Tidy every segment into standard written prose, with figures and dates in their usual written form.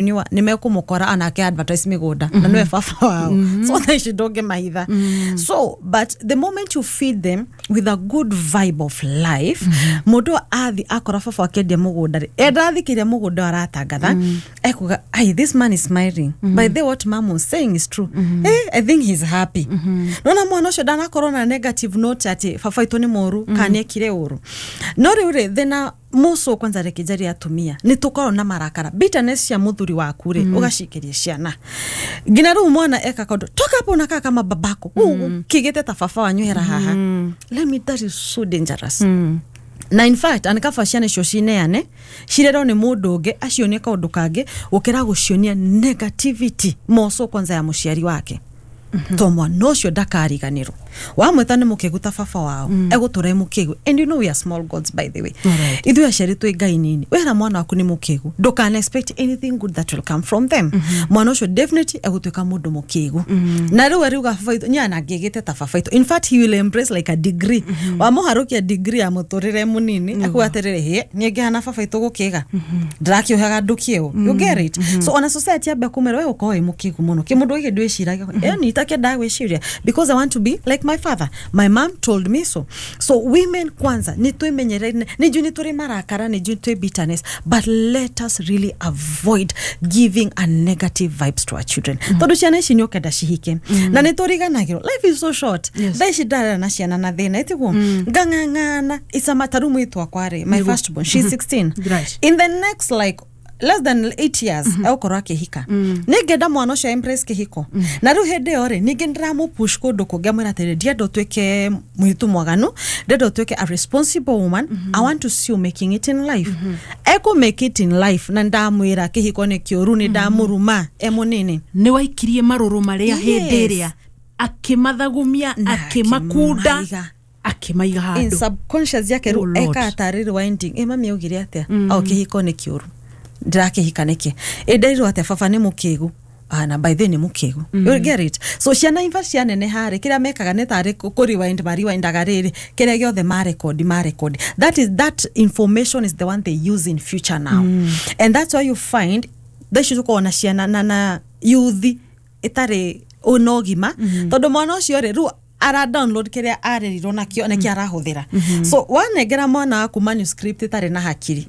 Entrepreneur nĩ mekũmũkora anake advertise mĩgũnda na nĩwe baba wao, so thaa ici ndũngĩmahitha. So but the moment you feed them with a good vibe of life, mũndũ athi akora baba akĩendia mũgũnda rĩ, endathikĩria mũgũnda aratangatha, ekuga, "Ai, this man is smiling. By the way, what mom was saying is true. I think he's happy." Nona mwana ũcio ndanakorwo na negative note atĩ baba witũ nĩ mũru kana nĩekire ũru. No rĩu rĩ, thĩna mũco kwanza, reke njarie atumia, nĩ tũkorwo na marakara, bitterness cia mũthuri waku rĩ, ũgaciikĩria ciana. Nginya rĩu mwana eka kaũndũ, "Toka hapo, unakaa kama babako, kĩgĩte ta baba wanyu, hera haha." Let me, that is so dangerous. Na in fact anikaba ciana icio cineane cirerwo nĩ mũndũ ũngĩ acionie kaũndũ kangĩ gũkĩra gũcionia negativity moco kwanza ya mũciari wake, to mwana ũcio ndakariganĩrwo wamwĩta nĩ mũkĩgu ta baba wao, egũtũra e mũkĩgu. And you know we are small gods, by the way. Ithuĩ aciari twĩ ngai nini. Wera mwana waku nĩ mũkĩgu, ndũkana expect anything good that will come from them. Mwana ũcio definitely egũtuĩka mũndũ mũkĩgu na rĩu ariuga, "Baba witũ nyana ngĩgĩte ta baba witũ." In fact, he will embrace like a degree, wamũharũkia degree ya mũtũrĩre mũnini, akuga atĩrĩrĩ, "Hĩ, niĩ ngĩhana baba witũ gũkĩga ndĩrakĩũhaga ndũkĩũ." You get it? So ona society ambia kũmera we ũkorwo wĩ mũkĩgu mũno, kĩmũndũ gĩkĩ ndwĩciragia ĩ nitakĩendaga gwĩciria because I want to be like my father, my mom told me so. So women kwanza nĩ twĩmenyere, nĩ njũĩ nĩ tũrĩ marakara, nĩ njũĩ twĩ bitterness, but let us really avoid giving a negative vibes to our children, tondũ ciana ici nĩ ũkenda cihike na nĩ tũriganagĩrwo life is so short. Thaa ici ndarera na ciana na thĩna ĩtiguo ngang'ang'ana isama. Taru mwĩtu wakwa rĩ, my first born, she's 16. In the next like less than 8 years egũkorwo akĩhika. Nĩ ngenda mwana ũcio embrace kĩhiko, na rĩu hĩndĩ ĩyo rĩ, ningĩ ndĩramũpush kũndũ kũngĩ, amwĩra atĩrĩ, "Ndienda ũtuĩke mũirĩtu mwaganu, ndenda ũtuĩke a responsible woman. I want to see you making it in life." Ekũ make it in life na ndamwĩra kĩhiko nĩ kĩũru, nĩ ndamũruma e mũnini. Nĩ waikirie marũrũ marĩa hĩndĩ ĩrĩa akĩmathagumia, Na akĩmakunda, akĩmaiga. Akĩmaiga In handũ. subconscious yake Oh, rĩu Lord. eka tarĩ rewinding, ĩ mami augire atĩa? O kĩhiko nĩ kĩũru, ndĩrakĩhika nĩkĩ? Ĩ nderirwo atĩa? Baba nĩ mũkĩgu. Ah, na by the way nĩ mũkĩgu. You get it? So ciana imba cianeneha rĩ, kĩrĩa mekaga nĩ tarĩ kũ rewind, marewindaga rĩrĩ kĩrĩa gĩothe marekodi marekodi. That is, that information is the one they use in future now, and that's why you find thaa ici tũkoragwo na ciana na youth ĩtarĩ na ũgima, tondũ mwana ũcio rĩ, rĩu ara download kĩrĩa arerirwo nakĩo, nĩkĩo arahũthĩra. So wanengera mwana waku manuscript ĩtarĩ na hakiri,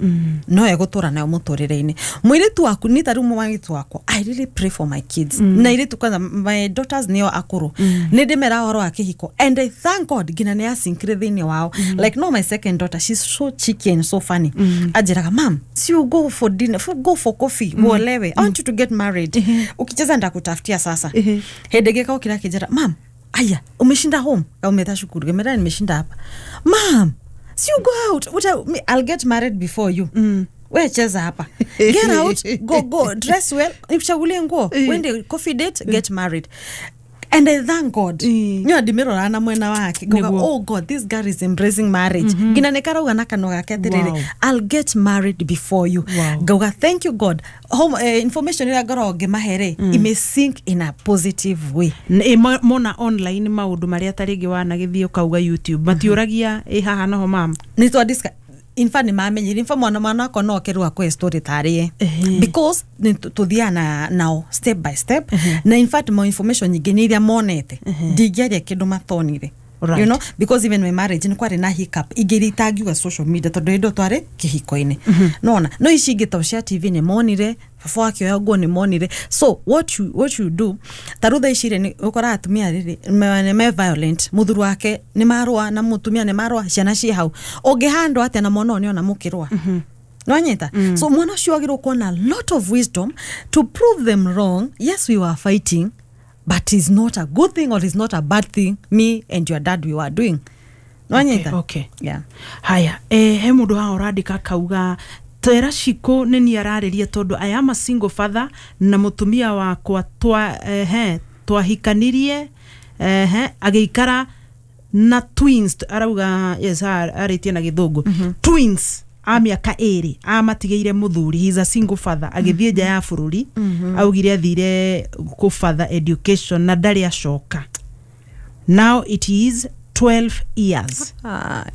no egũtũra nayo mũtũrĩre-inĩ. Mũirĩtu waku ni ta rĩu mũirĩtu wakwa, I really pray for my kids, na airĩtu kwanza, my daughters nĩo akũrũ, nĩ ndĩmera ũhoro wa kĩhiko and I thank God nginya nĩ asinkire thĩinĩ wao. Like no, my second daughter, she's so cheeky and so funny. Anjĩraga, "Mam, si you go for dinner, go for coffee, uolewe. I want you to get married. Ukicheza ndakutafutia." Sasa hĩndĩ ĩngĩ kaũkĩra akĩnjĩra, "Mam, aya, umeshinda home?" Kaumeta shukuru, gemera, "Nimeshinda hapa." "Mam, si you go out? What me, I'll get married before you. We cheza hapa. Get out, go, go dress well, nikuchagulie nguo, uende coffee date, get married." And I thank God. Nyo ndimirora na mwena wake ngauga, Nĩguo. "Oh God, this girl is embracing marriage." Nginya nĩ karauga na kanua gake atĩrĩrĩ, "I'll get married before you." Ngauga, "Thank you God." Home, information ĩrĩa ngoragwo ngĩmahe rĩ, ime sink in a positive way. Mona online maũndũ marĩa ta rĩngĩ wanagĩthiĩ ũkauga YouTube, matiũragia, "Ĩ haha noho mama?" Nĩ twa discuss. In fact nĩ mamenyire. In fact mwana wakwa no oke rĩu akũhe story tarĩe because nĩ tũthiaga na nao step by step, na in fact mo information nyingĩ nĩ iria monete, ndingĩaria kĩndũ matonire. Because even my marriage nĩ kwarĩ na hiccup ingĩ iria itangiuga social media, tondũ hĩndĩ ĩyo twarĩ kĩhiko-inĩ nona. No ici ingĩ ta cia TV nĩ monire, baba wakĩoya nguo nĩ monire. So what you do, ta rĩu thaa ici rĩ, nĩ ũkoraga atumia rĩrĩ nĩ me violent, mũthuri wake nĩ marũa na mũtumia nĩ marũa, ciana ciĩ hau, ũngĩhandwo atĩa na mwana ũyũ nĩona mũkĩrũa? Nwanyita? So mwana ũcio agĩrĩirwo kuona lot of wisdom to prove them wrong. Yes, we were fighting, but it's not a good thing or it's not a bad thing me and your dad we were doing. Nwanyita? Okay. Yeah. Haya, he mũndũ haha ũrandĩka akauga, "Tera Shiko, nĩ niĩ ararĩria tondũ I am a single father na mũtumia wakwa he twahikanirie, he agĩikara na twins." Arauga yes, arĩtie na gĩthũngũ, twins a mĩaka 2 amatigĩire mũthuri. He is a single father, agĩthiĩ nja ya bũrũri. Augire athire kũ further education na ndarĩ acoka. Now it is 12 years. Ah,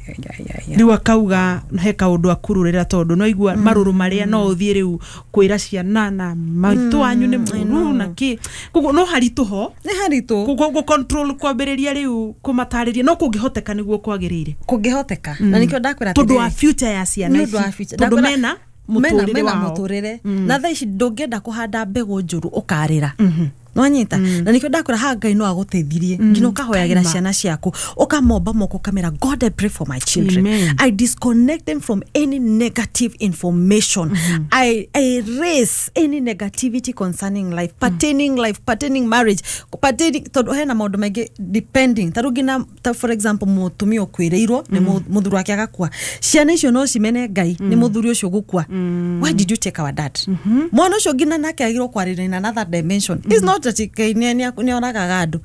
yeah. Rĩu akauga he kaũndũ akururĩra tondũ no igua marũrũ marĩa no ũthiĩ rĩu kwĩra ciana na maitũ wanyu nĩ mũru na kĩ, koguo no haritũ ho Nĩ haritũ. Gũ control kwambĩrĩria rĩu kũmatarĩria no kũngĩhoteka nĩguo kwagĩrĩire. Kũngĩhoteka, na nĩkĩo ndakwĩra Tondũ wa atĩrĩrĩ, future ya ciana nĩ ũndũ wa ici, future. tondũ Ndakwĩra- mena mũtũrĩre mena wao. mũtũrĩre, na thaa ici ndũngĩenda kũhanda mbegũ njũru ũkarĩra nwanyita, na nikio ndakwĩra haha Ngai no agũteithirie nginya ũkahoyagĩra Kaima. ciana ciaku, ũkamomba moko ũkamera, "God, I pray for my children. Amen. I disconnect them from any negative information. I erase any negativity concerning life, pertaining life, pertaining marriage, pertaining," tondũ hena maũndũ maingĩ depending ta rĩu nginya ta for example mũtumia ũkuĩrĩirwo nĩ mũthuri wake agakua, ciana icio no cimene Ngai nĩ mũthuri ũcio gũkua. "Why did you take our dad?" Mwana ũcio nginya nake agĩrwo kwarĩrĩria in another dimension. It's not that Ngai nĩ oragaga andũ.